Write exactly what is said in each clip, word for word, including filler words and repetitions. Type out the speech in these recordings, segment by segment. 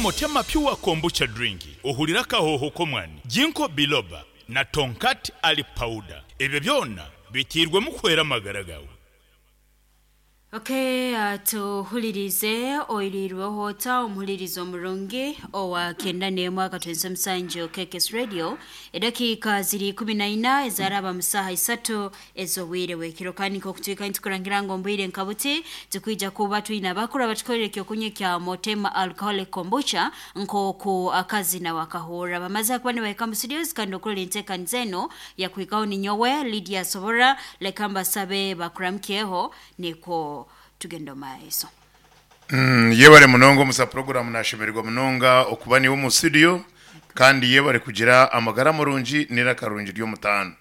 Motema Pure Kombucha Drink, ohurira akahoho k'omwani, Ginkgo Biloba na Tongkat Ali Powder. Ebyo byona bitiirwemu kuhwera amagara gaawe. Okay, uh, tuhulirize oirirweho ota omuhulirizo omurungi owa kenda n'emwe akatwenza omusanju K K S Radio. Edakiika ziri ikumi na ina ezaraba mu saaha isatu ez'obwire bw'ekiro, kandi nk'okutwika nitukurangira ngu ombwire nka buti tukwija kuba twine abakuru abatukorera ekyokunywa kya Motema Alcoholic Kombucha, nk'oku akazi nawe akahurra bamaze kuba nibahika mu studios. Kandi okurora enteekaniza eno yakuhikaho ninyowe Lydia Sobora. Leka mbasabe bakuramukyeho nikwo tugenda omu maiso. Mm, yebare munonga omusa program. Nashemererwa munonga okuba niwe omu studio, kandi yebare kugira amagara murungi n'iraka rungi ry'omutaano.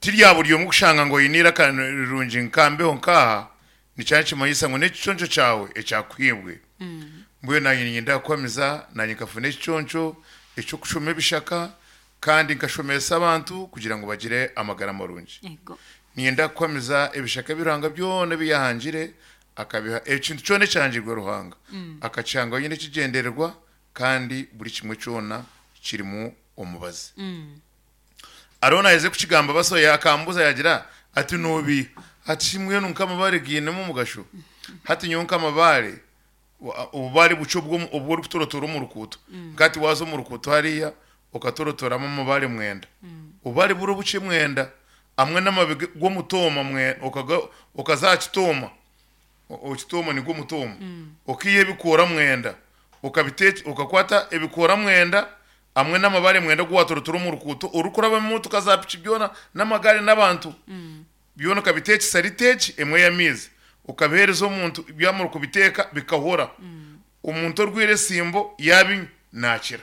Tirya buri omwe kushanga ngo oyine iraka rirungi nkambeho nkaha nikyaba kimanyisa ngu n'ekiconco kyawe ekyakuhibwe. Mbwenu nanye ninyenda kukwamiza nanye nkafuna ekiconco ekyokushoma ebishaka, kandi nkashomesa abantu kugira ngu bagire amagara marungi. Ego. Ninyenda kukwamiza ebishaka ebi Ruhanga byona ebiyahangire akabiha. Ekintu kyona ekyahangirwe Ruhanga akakihanga nyine ekigyendererwa, kandi buri kimwe kyona kirimu omubazi. Ariho naheze kukigamba basoya akambuza, yagira ati nobi ati mbwenu nk'amabare giinemu omugasho. Hati nyowe nk'amabare wa- obubare bukye obwo obwo orikutorotora omu rukuuto, nkati waza omu rukuuto hariya okatorotoramu amabare mwenda, obubare buri obukye mwenda amwe n'amababi g'omutoma mwe okaga- okaza kitoma, okitoma nigwo mutoma, okiiha ebikoora mwenda, okabiteeka, okakwata ebikoora mwenda amwe n'amabare mwenda gu watorotora omu rukuuto orikuraba emotoka za piki byona n'amagare n'abantu byona, okabiteekesa riteeki emwe y'amaizi, okabiheereza omuntu, byamara kubiteeka bikahora, omuntu orwire esimbo yabinywa nakira.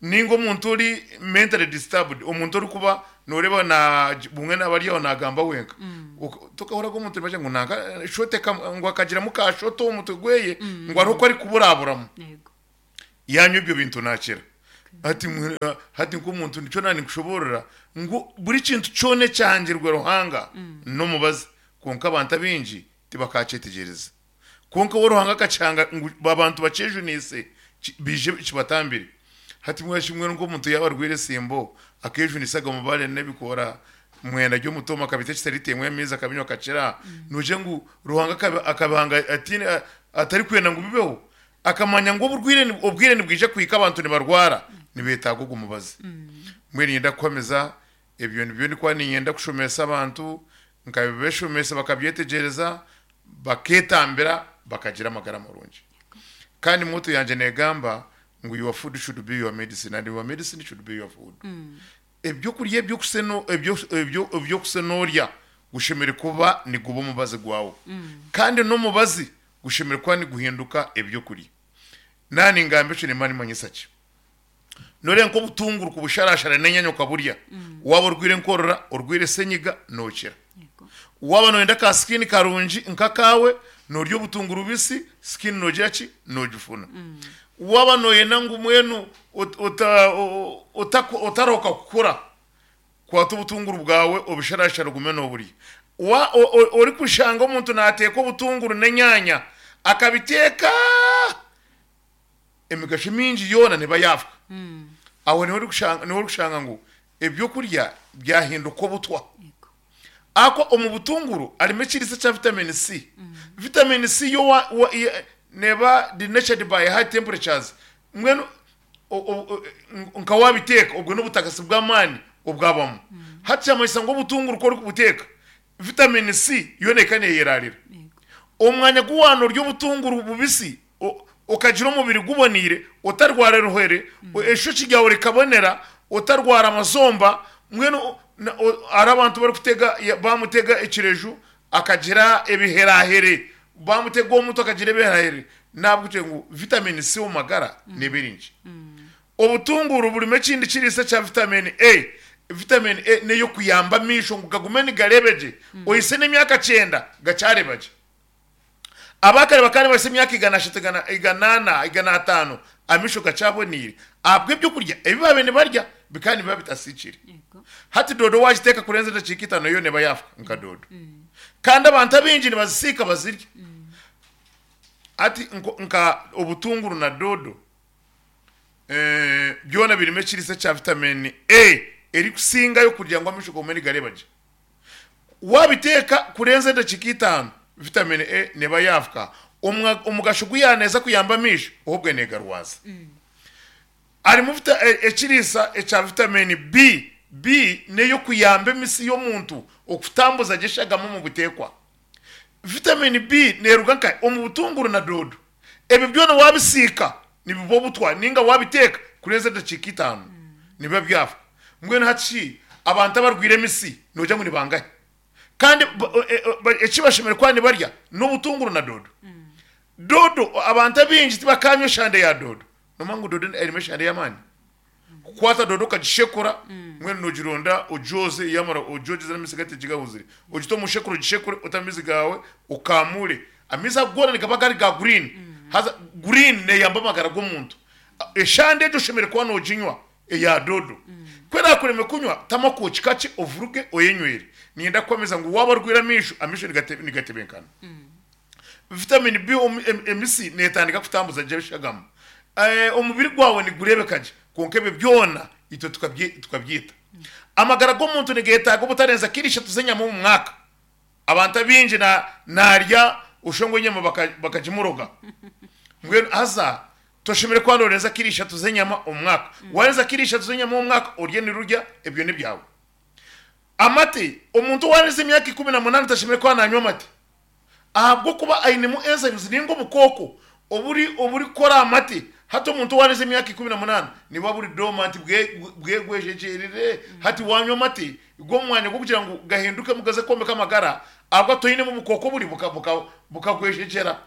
Ninga omuntu ori mentally disturbed, omuntu orikuba noreeba na bumwe nabari aho nagamba wenka. Ok- tukahuraga omuntu nibagira ngu nanka shote kam- ngo akagiramu ka shoto omutwe gweye, ngo hariho ko ari kuburaburamu, Yego. yanywa ibyo bintu nakira. Hati mwe- hati nk'omuntu nicyo nani nkushoborera ngu buri kintu kyona ekyahangirwe Ruhanga n'omubazi, konka abantu abingi tibakakyetegereza. Konka we Ruhanga akakihanga ngu abantu bakyejunise, ki- bije kibatambire. Hati mwashimwe nk'omuntu yaba arwire esimbo akejunisaga mubare n'ebikora mwenda ry'omutoma, akabitekesa ritemwe amaizi, akabinywa akakira, nuje ngu Ruhanga akabi- akabihanga atine atari kwenda ngu bibeho, akamanya ngu oburwire ni- obwire nibwija kuhika abantu nibarwara nibetaaga ogu mubazi. Mbwenu ninyenda kukwamiza ebyo nibyo ndikuba ninyenda kushomesa abantu, nkabibeshomesa bakabyetegereza, baketambira, bakagira amagara marungi. Kandi motto yanje negamba ngu "Your food should be your medicine and your medicine should be your food." Ebyokurya ebyokuseno ebyo ebyo ebyokusenorya gushemere kuba niguba omubazi gwawe, kandi n'omubazi gushemere kuba niguhinduka ebyokurya. Nani ngamba ekyo nimba nimanyisa ki? Nore nk'obutunguru kubusharashara n'enyanya okaburya, waba orwire enkorora, orwire senyiga, nokira. Yego. Waba noyenda ka skin karungi nkakawe, norya obutunguru bubisi, skin nogira ki? Nogifuna. Waba noyenda ngu mwenu ot- ota- o- ota- otaroka kukura, kwata obutunguru bwawe obusharashara ogume noburya. Wa- o- o- ori kushanga omuntu nateeka obutunguru n'enyanya akabiteeka, emigasho mingi yoona niba yafa. Aho niho ori kushanga niho ori kushanga ngu ebyokurya byahinduka obutwa. Yego. Ako omu butunguru harimo ekiriisa kya vitamin C. Vitamin C yo wa, wa, ye- neba denatured by high temperatures. Mbwenu o- o- o- nka wabiteeka, ubwo n'ubutakasi bw'amaani obwabamu. Hati kyamanyisa ngu obutunguru ko ori kubuteeka, vitamin C yo neka neyerarira. Yego. Omwanya guwana orya obutunguru bubisi, o- okagira omubiri guboniire, otarwara eruhere, eshoki ryawe rikabonera, otarwara amazomba. Mbwenu na- o- hari abantu barikutega ya- bamutega ekireju akagira ebiherahere, bamutega omuntu akagira ebiherahere, nabwo ngu vitamin C omu magara nibiringi. Obutunguru burimu ekindi kiriisa kya vitamin A. Vitamin A neyo kuyamba amaisho ngu gagume nigarebegye, oyise n'emyaka kyenda gacyarebagye. Abakare bakare bahise emyaka igana ashatu, igana igana ana, igana atano, amisho gacyabonire ahabwa ebyokurya ebi babe nibarya bikaba nibiba bitasikire. Yego. Hati dodo wagiteeka kurenza edakiika itano yo neba yafa nka dodo, kandi abantu abingi nibazisiika bazirya. Ati nka obutunguru na dodo eh, byona birimu ekiriisa kya vitamini A erikusingayo kugira ngu amaisho gomwe nigareba gye. Wabiteeka kurenza edakika itaano, vitamini A neba yafuka. Omugasho guyaneza kuyamba amaisho ahubwo negarwaza. Harimu ekiriisa ekya vitamini B. B neyo kuyamba emisi y'omuntu okutambuza gye eshagama omu buteekwa. Vitamini B neruga nka omu butunguru na dodo. Ebyo byona wabisiika nibiba obutwa ninga wabiteeka kurenza edakika itaano nibiba byafa. Mbwenu hati abantu abarwire emisi nogira ngu nibangahe? Kandi ekibashemere kuba nibarya n'obutunguru na dodo. Dodo abantu abingi tibakanywa eshande ya dodo. Nomanya ngu dodo erimu eshande y'amaani. Kukwata dodo ukagishekura, mbwenu nogironda ogyoze, yamara ogyogeze n'amaizi gatigahuzire. Ogite omu shekuro ogishekure ote amaizi gawe okamure. Amaizi ago goona nigaba gari ga green. Haza green neyamba amagara g'omuntu. Eshande egyo oshemere kuba noginywa eya dodo. Ku erakurema kunywa tamu akooki kakye ovuruge oyenywere. Niinyenda kukwamiza ngu waaba orwire amaisho, amaisho nigatebenkana. Vitamini B emisi netandika kutambuza gye eshagama. Omubiri gwawe nigureebeka gye. Kwonka ebyo byona itwe tukabyita. Amagara g'omuntu nigetaaga obutarenza kiro ishatu z'enyama omu mwaka. Abantu abingi narya oshongwe enyama bakagimuroga. Mbwenu haza toshemere kuba norenza kiro ishatu z'enyama omu mwaka. Warenza kiro ishatu z'enyama omu mwaka orye nirurya ebyo n'ebyawe. Amate, omuntu owarenza emyaka ikumi na munaana tashemere kuba nanywa amate. Ahabw'okuba ainemu enzymes ninga obukooko oburi oburikukora amate. Hati omuntu owarenza emyaka ikumi na munaana nibuba buri dormant bwegwejegyerire. Hati wanywa amate g'omwanya gw'okugira ngu gahindukemu gaze kwombeka amagara, ahabwa toinemu obukooko buri bukagwejegyera.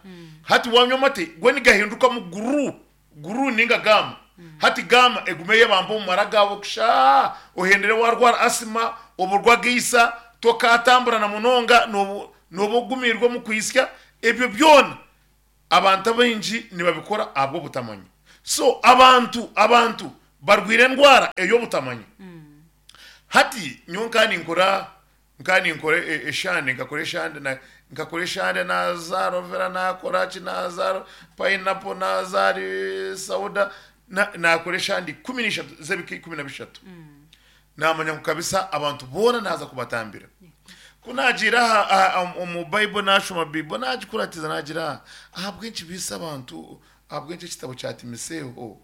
Hati wanywa amate go nigahindukamu guru, guru ninga gama. Hati gama egume yebamba omu mara gawe kusha, ohendere warwara asima, oburwa geisa, tokatambura na munonga, noba ogumirwe omu kwisya. Ebyo byona abantu abaingi nibabikora ahabw'obutamanya. So abantu abantu barwire endwara ey'obutamanya. Hati nyowe nka ninkora nka ninkora eshande, nkakora eshande na nkakora eshande naza aloe vera, nakora ki, naza pineapple, naza sauda, nakora eshande ikumi n'ishatu z'ebika ikumi na bishatu. Namanya ngu kabisa abantu boona naza kubatambira. Ku nagira aha omu Bible nashoma Bible nagikuratiza nagira ahabw'enki biisa abantu, ahabw'enki ekitabo kya Timotheo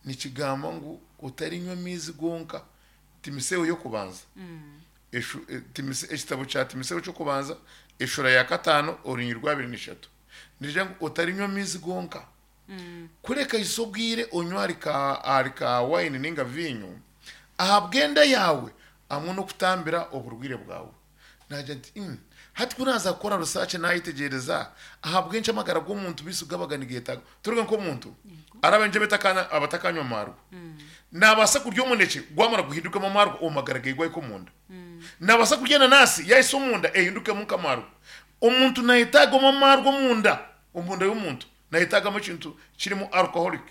nikigamba ngu otarinywa amaizi gonka. Timotheo y'okubanza. Ekitabo kya Timotheo ky'okubanza eshura ya kataano orunyi rwa abiri n'ishatu. Nigira ngu otarinywa amaizi gonka. Kureka isa obwire onywa ahari ka wine ninga vinyo ahabw'enda yawe hamwe n'okutambira oburwire bwawe. Nagira nti hati ku naza kukora research nayetegyereza ahabw'enki amagara g'omuntu bisu gabaga nigetaaga. Turuge nk'omuntu arabenje abatakanywa amarwa. Nabaasa kurya omunekye gwamara guhindukemu amarwa omu magara ge gwahika omunda. Nabaasa kurya enanasi yahisa omunda ehindukemu nk'amarwa. Omuntu nayetaagamu amarwa omunda, omunda y'omuntu nayetaagamu ekintu kirimu alcoholic.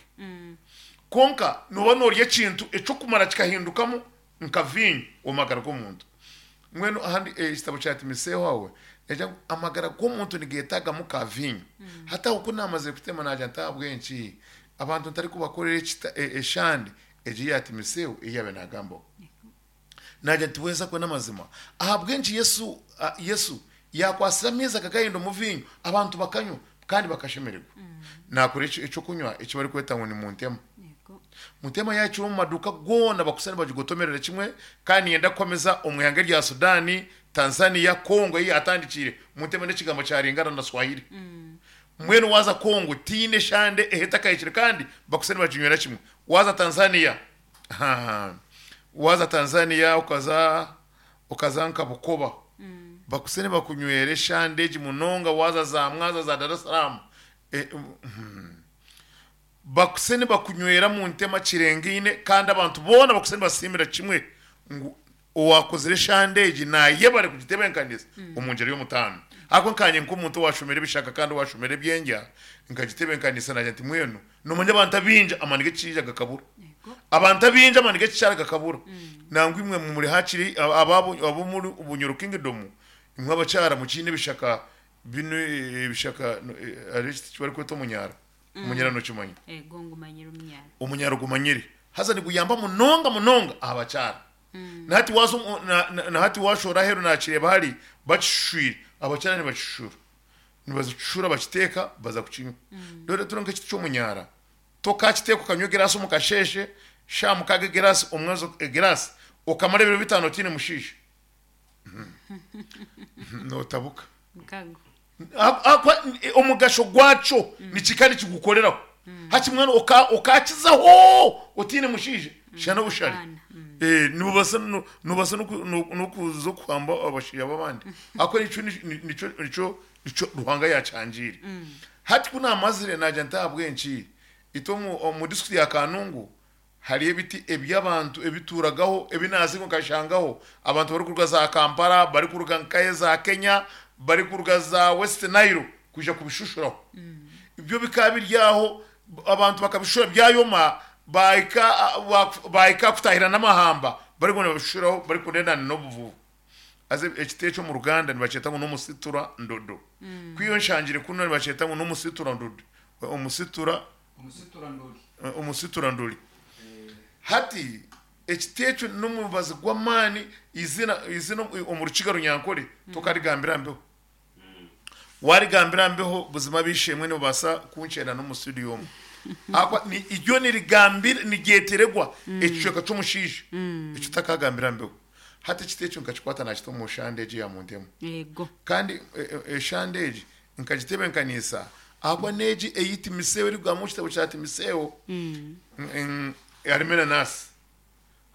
Kwonka noba norya ekintu ekyokumara kikahindukamu nka vinyo omu magara g'omuntu. Mbwenu ahandi ekitabo kya Timotheo aho nagira ngu amagara g'omuntu nigetagamu ka vinyo. Hati aho ku namazire kutema nagira nti ahabw'enki abantu ntarikubakorera eshande egi ya Timotheo ei yaabaire naagambaho. Nagira nti weeza kwe n'amazima. Ahabw'enki Yesu Yesu yakwasire amaizi akagahindura omu vinyo abantu bakanywa kandi bakashemererwa. Nakora ekyokunywa eki barikweta ngu ni muntema. Muntema yakira omu maduuka goona bakusa nibagigotomerera kimwe, kandi niinyenda kukomeza omu ihanga rya Sudan, Tanzania, Congo ei yatandikiire. Muntema n'ekigambo kya Lingala na Swahili. Mbwenu waza Congo tiine eshande ehetakahikire kandi bakusa nibaginywera kimwe. Waza Tanzania, waza Tanzania okaza okaza nka Bukoba, bakuse nibakunywera eshande egi munonga. Waza za Mwanza, za Dar es Salaam, bakuse nibakunywera mu ntema kirengaine, kandi abantu boona bakuse nibasiimira kimwe ngu owakozire eshande egi nayebare kugitebenkaniza omu ngyeri y'omutaano. Ahabwo nkanye nk'omuntu owashomire ebishaka kandi owashomire ebyengya nkagitebenkaniisa nagira nti mbwenu nomanya abantu abingi amaani g'ekishaija gakabura. Abantu abingi amaani g'ekikyara gakabura. Nangwa imwe muri hakiri abo muri Bunyoro Kingdom imwe abakyara mukiine ebishaka Bino eh, ebishaka no, eh, hariho ekiti kibarikweta omunyara. Omunyara nokimanya? Ego, ngumanyire omunyara. Omunyara gumanyire haza niguyamba munonga munonga aha bakyara. Nahati waza omu- na- na- nahati washora aheru nakireba hari bakishishwire, abakyara nibakishishura, nibazikishura bakiteeka baza kukinywa. Rero turi nk'ekiti ky'omunyara, tokakiteeka okanywa egirasi omu kasheshe sha mukaga, egirasi omwezi, egirasi okamara ebiro bitaano otiine mushiisha notabuka. Mukago. A- akwa- omugasho gwakyo nikika nikigukoreraho haki mwana oka- okakizaho otiine mushiisha shana obushari. Abaana, mm. Eh, nubasa nu- nubasa noku- no- nokuza okuhamba abashiya b'abandi ako nico ni- nico nico nico Ruhanga yakyangire. Hati kunamazire najya ntahabwenki ito omu omu district ya Kanungu hari ebiti eby'abantu ebituragaho ebinazi nkashangaho abantu bari kuruga za Kampala, bari kuruga nkaye za Kenya, bari kuruga za West Nile kuja kubishushuraho. Ibyo bikaba biryaho abantu bakabishura byayoma, bahika bahika kutahira n'amahamba bari kubona babishuraho bari kunenana n'obuvubu. Aze ekiti ekyo mu Ruganda nibakyeta ngo n'omusitura ndodo. Kwiyo nshangire kuno nibakyeta ngo n'omusitura ndodo, omusitura Umusitura ndori. Omusitura ndoli. Hati ekiti ekyo n'omubazi gw'amaani. Izina izina omu Rukiga Runyankore tokarigambira mbeho, warigambira mbeho buzima bishemwe nibabasa kunkyera n'omu studio omwe. Akwa ni iryo nirigambira niryeteregwa ekicweka ky'omushiisha ekyo takagambira mbeho. Hati ekiti ekyo nkakikwata nakita omu shande egi ya muntemu. Ego. Kandi e- e- eshande egi nkagitebenkanisa ahakwa n'egi eyi Timisewo erikugambamu mu kitabo kya Timisewo. Mm, mm, harimo enanasi.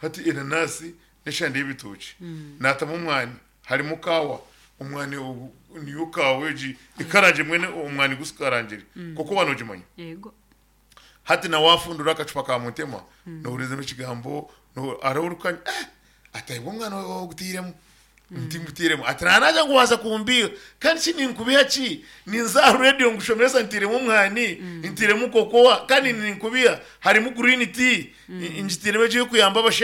Hati enanasi n'eshande y'ebitoki natamu omwani, harimo kawa, omwani ogu- niyo kawa egi ikarangire mwene omwani gusikarangire koko wanogimanya. Ego. Hati nawafundura akacupa ka muntema nohurizemu ekigambo no- hariho orukanya eh, ati aibwe omwana ogutiiremu ntimutiiremu, ati nanaja ngu waza kumbiha kandi ki ninkubiha ki ninza aha radio ngushomeresa ntiiremu omwani, ntiiremu kokoa kandi ninkubiha harimu green tea ngitiiremu egi ey'okuyamba abashaija.